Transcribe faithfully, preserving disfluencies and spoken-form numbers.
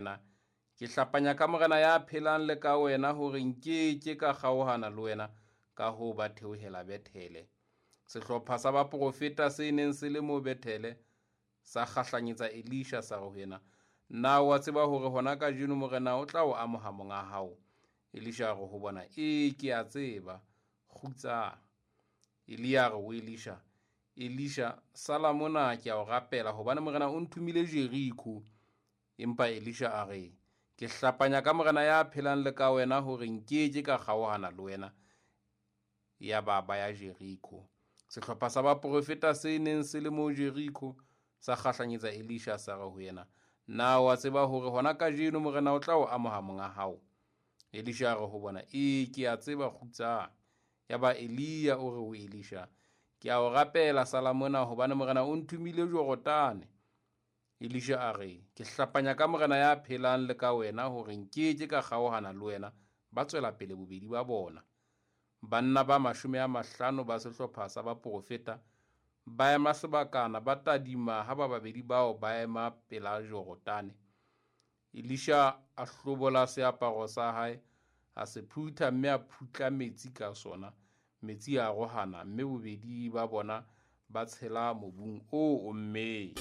yena, "Ke hlapanya ka Morena ya phelang le ka wena hore nke ke ka kgaohana le wena." Ka hoo ba theohela Bethele. Sehlopha sa baprofeta se neng se le moo Bethele sa kgahlanyetsa Elisha, sa re ho yena, "Na o a tseba hore hona kajeno Morena o tla o amoha monga hao?" Elisha a re ho bona, "E, ke a tseba, kgutsang." Elia a re ho Elisha, "Elisha, sala mona, ke a o rapela, hobane Morena o nthomile Jeriko." Empa Elisha a re, "Ke hlapanya ka Morena ya phelang le ka wena hore nke ke ka kgaohana le wena." Yaba ba ya Jeriko. Sehlopha sa baprofeta se neng se le moo Jeriko sa kgahlanyetsa Elisha, sa re ho yena, "Na o a tseba hore hona kajeno Morena o tla o amoha monga hao?" Elisha a re ho bona, "E, ke a tseba, kgutsang." Yaba Elia o re ho Elisha, "Ke a o rapela, sala mona, hobane Morena o nthomile Jorodane." Elisha a re, "Ke hlapanya ka Morena ya phelang le ka wena hore nke ke ka kgaohana le wena." Ba tswela pele bobedi ba bona. Banna ba mashome a mahlano ba sehlopha sa baprofeta ba ema sebakana, ba tadima ha ba babedi bao ba ema pela Jorodane. Elisha a hlobola seaparo sa hae, a se phutha, mme a phutla metsi ka sona. Metsi a arohana, mme bobedi ba bona ba tshela mobung o ommeng.